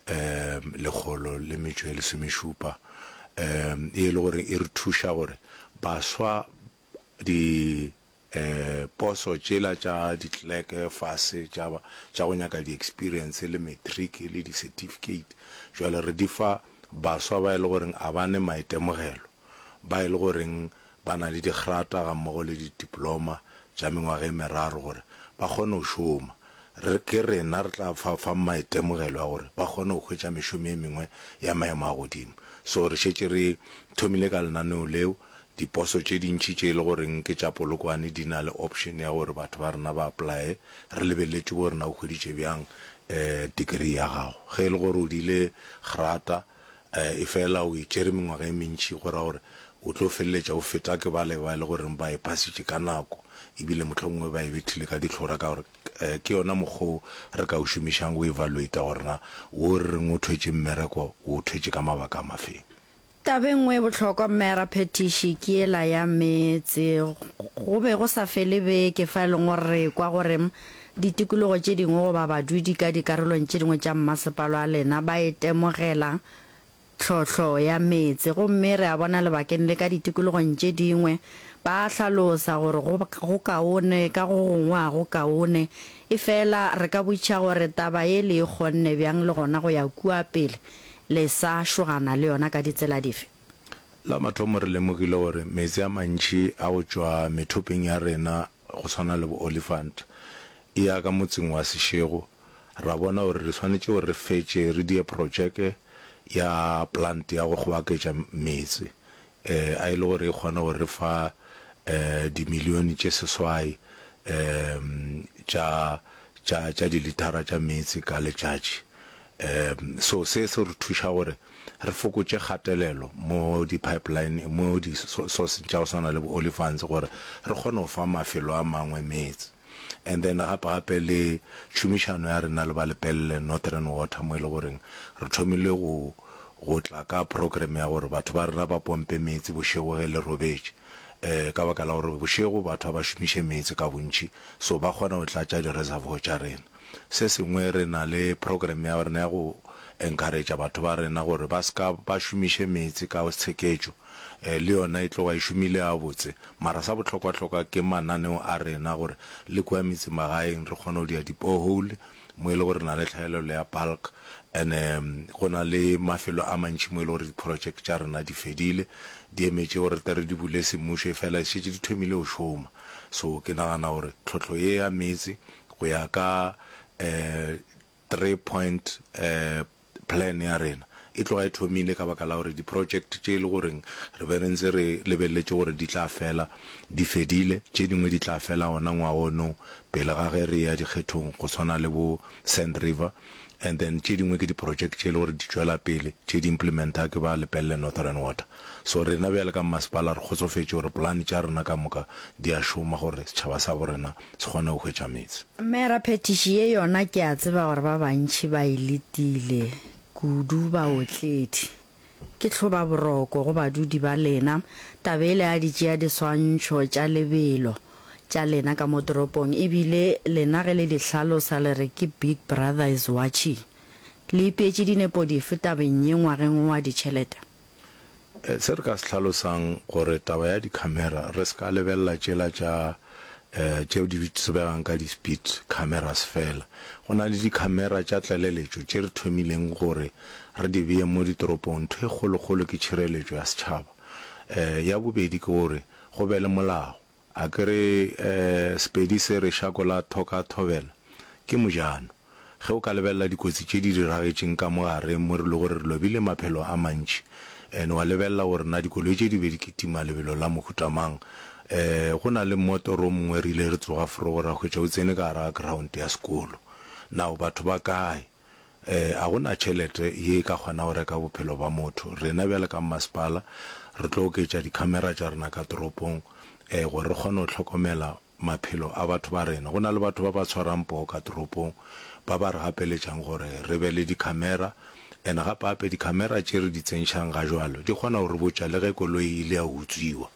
um 117 um e le gore e re thuša gore baswa di Poso tšela tša di-clerk fase tša, tša go nyaka di-experience le matric le di-certificate, jwale re di fa baswa ba e le goreng a ba ne maitemogelo, ba e le goreng ba na le digrata gammogo le di-diploma tša mengwaga e meraro gore ba kgone go šoma. Re, ke rena re tla fa fang maitemogelo a gore ba kgone go hwetša mešomo e mengwe ya maemo a godimo. So re šetše re thomile ka lenaneo leo, Diposo tše dintši tše e le goreng ke tša Polokwane di na le option ya gore batho ba rena ba apply-e, re lebeletše gore na o hweditše bjang degree ya gago. Ge e le gore o diile grata efela o e tšere mengwaga e mentši go ra gore o tlo feleletša o feta ke bale ba e le goreng ba e pasitše ka nako ebile mohlomongwe ba e bethile ka dihlora ka gore ke yona mokgwa o re ka o šomišang go evaluate-a gore na wo re reng o thwetše mmereko o o thwetše ka mabaka a mafeng. Taba e nngwe e bohlokwa, Mera Phetiši, ke yela ya meetse. Go be go sa fele beke fa e leng gore re ekwa gore ditikologo tše dingwe goba badudi ka dikarolong tše dingwe tša mmasepala wa lena ba itemogela tlhohlo ya meetse. Gomme re a bona lebakeng le ka ditikologong tše dingwe ba a hlalosa gore go, go kaone, ka go gongwe ga go kaone. Efela re ka botšiša gore taba ye le e kgonne bjang le gona go ya kua pele Le sa šogana le yona ka ditsela dife? La mathomo re lemogile gore meetse a mantši a go tšwa methopeng ya rena go swana le bo Olifant e ya ka motseng wa Seshego, ra bona gore re swanetše gore re fetše re die projeke ya plant ya go kgobaketša meetse a e le gore e kgone go re fa dimilione tše seswai tša tša tša dilithara tša meetse ka letšatši. So se se re thuša gore re fokotše kgatelelo mo di-pipeline, mo di-sourceng tša go swana le bo-Olifants gore re kgone go fa mafelo a mangwe meetse. And then gape gape le tšhomišano ya rena le ba Lepelle Northern Water mo e le goreng re thomile go go tla ka program ya gore batho ba rena ba pompe meetse bošego ge le robetše um ka baka la gore bošego batho ga ba šomiše meetse ka bontši so ba kgona go tlatša di-reservoir tša rena. Se sengwe re na le program ya rena ya go encourage batho ba rena gore ba se ka ba šomiše meetse ka tsheketšo le yona e tloga e šomile gabotse. Mara sa bohlokwahlokwa ke mananeo a rena gore le kua metsemagaeng re kgone go dia di-borehole mo e le gore re na le tlhaelelo ya bulk and go na le mafelo a mantši mo e le gore di-project tša rena di fedile di emetše gore re tle re di bule semmušo efela di šetše di thomile go šoma. So ke nagana gore tlhohlo ye ya meetse go ya ka 3 point plan ya rena e tloga e thomile ka baka la gore di-project tše e le goreng re be re ntse re lebeletše gore di tla fela di fedile, tše dingwe di tla fela gona ngwaga ono pele ga ge re eya dikgethong go swana le bo Sand River and then tše dingwe ke di-project tše e le gore di tšwela pele tše di implementa ke ba Lepelle Northern Water. So rena bjale ka mmasepala re kgotsofetše gore polane tša rena ka moka di a šoma gore setšhaba sa bo rena se kgone go hwetša meetse. Mera phetiši ye yona ke a tseba gore ba bantši ba e letile, kudu baotledi. Ke hlobaboroko go badudi ba lena, taba yela ya di tšea diswantšho tša lebelo tša lena ka mo toropong, ebile lena ge le di hlalosa le re ke Big Brother is watching. Le ipeetše dinepo dife tabeng ye ngwageng wo wa ditšhelete? Se re ka se hlalosang gore taba ya di-camera re se ka lebelela tšela tša tšeo di tsebegang ka di-speed cameras fela. Go na le di-camera tša tlaleletšo tše re thomileng gore re di bee mo ditoropong. Ntho e kgolokgolo ke tšhireletšo ya setšhaba. Ya bobedi ke gore go be le molao. A ke re Sepedi se re šako la thoka thobela ke mojano. Ge o ka lebelela dikotsi tše di diragetšeng ka mo gare mo re le gore re lobile maphelo a mantši and wa lebelela gore na dikoloi tše di be di kitima lebelo la mohuta mang. Go na le mmotoro o mongwe re ile re tsoga forogo ra hwetša o tsene ka gare ga ground ya sekolo. Now batho ba kae? A go na tšhelete ye e ka kgona go reka bophelo ba motho. Rena bjale ka mmasepala re tlo oketša di-camera tša rena ka toropong gore re kgone go hlokomela maphelo a batho ba rena. Go na le batho ba ba tshwarang poo ka toropong ba ba re gapeletšang gore re be le di-camera and gape-gape di-camera tše re di tsentšhang ga jwalo di kgona go re botša le ge koloi e ile ya utswiwa.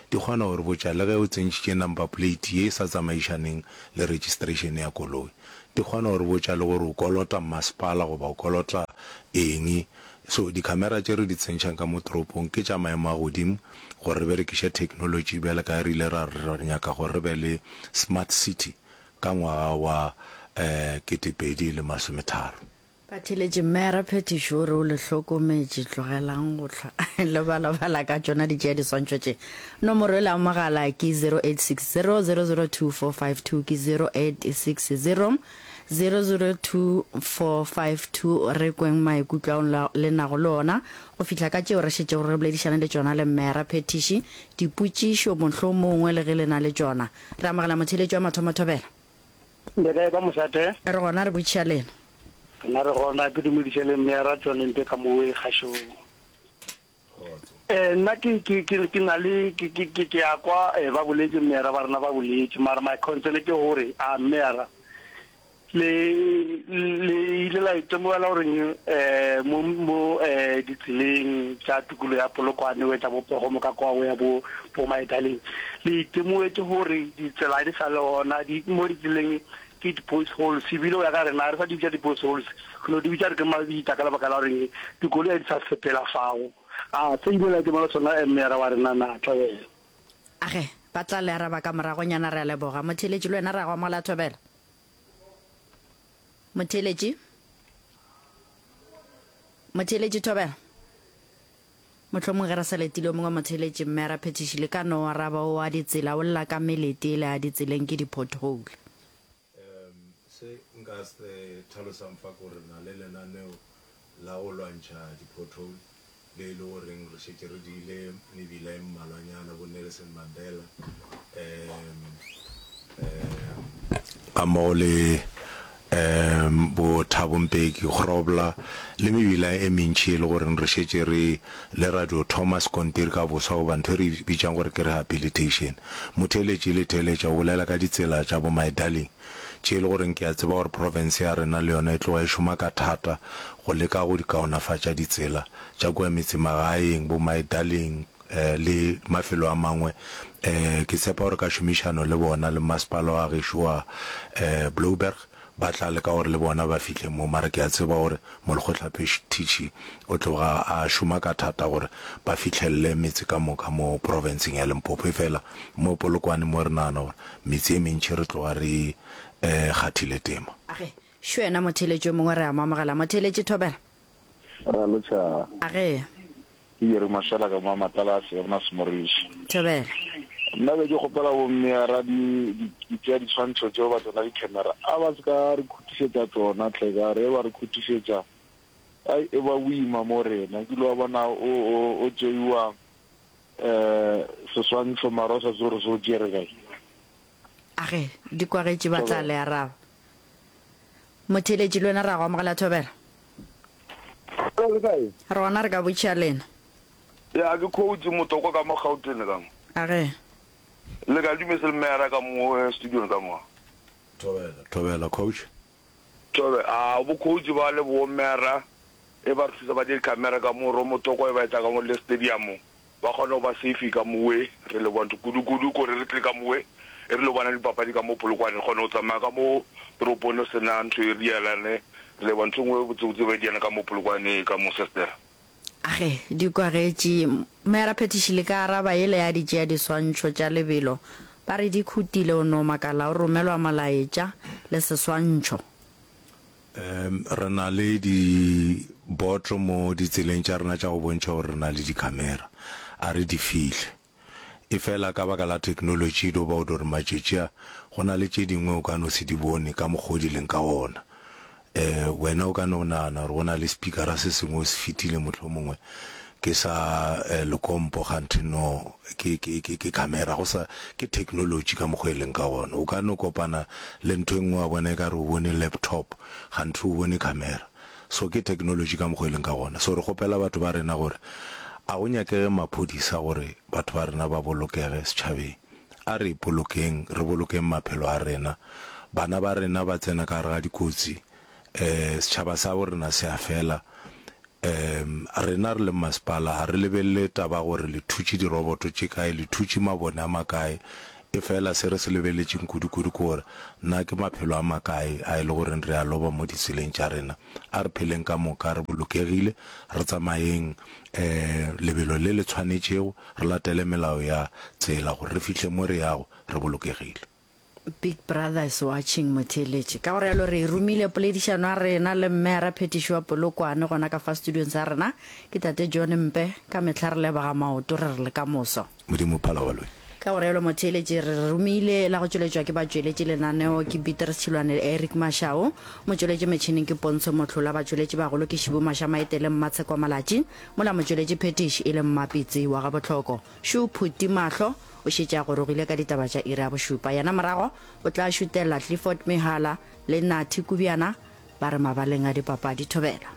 Di kgona go re botša le ge o tsentšhitše number plate ye e sa tsamaišaneng le registration ya koloi. Di kgona go re botša le gore o kolota mmasepala goba o kolota eng. So di-camera tše re di tsentšhang ka mo toropong ke tša maemo a godimo gore re berekiše technology bjale ka ge re ile ra re re nyaka gore re be le smart city ka ngwaga wa 2030. Batheeletši, Mera Phetišo o re o le hlokometše, tlogelang go hlwa le balabala ka tšona di tšea diswantšho tše. Nomoro yela ya mogala ke 0860 002 452 ke 0860 002 452. Re kweng maikutlo ao le nago le ona go fihla ka tšeo re šetšego re boledišane le tšona le Mera Phetiši. Dipotšišo mohlomongwe le ge le na le tšona. Re amogela motheeletši wa mathomo Thobela. Le kae ka mošate? Re gona re botšiša lena. Rena re gona, ke dumediše le Mmeara John Mpe ka mowe kgašong. Eh, nna ke ke ke ke na le ke ke ke ke a kwa eh, ba boletše Mmeara ba rena ba boletše mara my concern ke gore a Mmeara le le ile la itemogela gore eh mo mo eh ditseleng tša tikologo ya Polokwane o etla bo Pogomo ka kwa o ya bo bo Maedaleng le itemogetše gore ditsela di sa le gona di mo ditseleng ke di-postholes ebile go ya ka rena ga re sa di bitša di-postholes re no di bitša re ke mabitla ka lebaka la gore dikoloi ga di sa sepela fao. A se ile la itemogela sona meyara wa rena na Thobela? Age, ba tla le araba ka moragonyana re a leboga. Motheeletši le wena re a go amogela Thobela. Motheeletši? Motheeletši Thobela? Mohlomong ge re sa letile o mongwe motheeletši mme Raphethiši le ka no araba o a ditsela o lla ka melete ele a ditseleng ke di-pothole. Um se nka se tlhalosang fa ke gore re na le lenaneo la go lwantšha di-pothole le e le goreng re šetše re diile mebila e mmalwanyana bo Nelson Mandela um um ga mmogo le um bo Thabo Mbeki, Grobler le mebila e mentši e le goreng re šetše re le ra dio thoma sekontiri ka boswa goba ntho e re e bitšang gore ke rehabilitation. Motheeletši le theeletša o bolela ka ditsela tša bo My Darling tše e le goreng ke a tseba gore profense ya rena le yona e tloga e šoma ka thata go leka go di kaonafatša ditsela tša kua metsemagaeng, bo My Darling le mafelo a mangwe. Ke tshepa gore ka šomišano le bona le masepala wa gešo wa Blouberg ba tla leka gore le bona ba fihle mo, mara ke a tseba gore molekgotlaphethiši o tloga a šoma ka thata gore ba fihlelele metse ka moka mo profenseng ya Limpopo. Efela mo Polokwane mo re nagana gore metse e mentši re tloga re e kgathile tema. Age, šo yena motheeletši yo mongwe re a mo amogela. Motheeletši Thobela. Re a lotšha. Age. Ke Jerry Mashela ka mo Matalase ya bona Semoriši. Thobela. Nna be ke kgopela bo mme ra di di tšea ditshwantsho tšeo ba tsona di camera a ba se ka re khutišetša tsona tle ka re ba re khutišetša ai e ba boima mo rena ke lo bona o o o tšeiwa eh seswantsho mara o sa tsebe gore se o tšere kae. Age, di kwagetše ba tla le araba. Motheeletši le wena re a go amogela Thobela. Hello, le kae? Re gona re ka botšiša lena. Ya ke coach Motokwa ka mo Gauteng ka mo. Age. Le ka dumese le meyara ka mo eh, studio ka mo. Thobela, thobela coach. Thobe, a bo coach ba le bo meyara e ba re thusa ba di camera ka mo ro Motokwa e ba etsa ka mo le stadium. Ba kgona go ba safe ka mowe, re leboga ntho kudu kudu kore re tle ka mowe e re lo bona dipapadi ka mo Polokwane, re kgona go tsamaya ka mo toropong re sena ntho e re dielane, re leboga ntho e nngwe botse botse ba e diana ka mo Polokwane ka mo Sester. Age, di kwagetše. Moyaraphethiši le ka araba yela ya di tšea diswantšho tša lebelo ba re di khutile o no makala o romelwa molaetša le seswantšho. Re na le diboto mo ditseleng tša rena tša go bontšha gore re na le dikhamera. A re di fihle. Efela ka baka la theknolotši e do ba o do re matšatši a go na le tše dingwe o ka no se di bone ka mokgwa o di leng ka gona. Wena o ka no nagana gore go na le speakera se sengwe o se fetile mohlomongwe ke sa lekompo kganthe no ke ke ke ke camera go sa ke technology ka mokgwa e leng ka gona. O ka no kopana le ntho e nngwe wa bona e ka re o bone laptop kganthe o bone camera. So ke technology ka mokgwa e leng ka gona. So re kgopela batho ba rena gore a go nyakege maphodisa gore batho ba rena ba bolokege setšhabeng. A re ipolokeng, re bolokeng maphelo a rena. Bana ba rena ba tsena ka gare ga dikotsi, um setšhaba sa bo rena se a fela. Um rena re le masepala ga re lebelele taba gore le thutše diroboto tše kae, le thutše mabone a makae. Efela se re se lebeletšeng kudu-kudu ke gore na ke maphelo a makae a e le goreng re a loba mo ditseleng tša rena. A re pheleng ka moka re bolokegile, re tsamayeng um lebelo le le tshwanetšego, re latele melao ya tsela gore re fihle mo re yago re bolokegile. Big brother is watching motheeletši. Ka go realo re e romile poledišano ya rena le Mmeara Phetiši wa Polokwane gona ka fa studiong sa rena. Ke Tate John Mpe. Ka mehla re leboga maoto re re le ka moso. Modimo phala baloi. Ka go realo motheeletši re re romile la go tšweletšwa ke batšweletši lenaneo ke Beatrice Tšhilwane le Eric Mashau. Motšweletši metšhineng ke Pontsho Mohlola, batšweletši bagolo ke Šibu Mašamaite le Mmatsheko Malatši, mola motšweletši phetiši e le Mmapitsi wa Gabohloko. Šo Phuti Mahlo o šetše a gorogile ka ditaba tša iri ya bošupa. Yena morago o tla šutela Clifford Mehala le Nathi Kubjana ba re mabaleng a dipapadi. Thobela.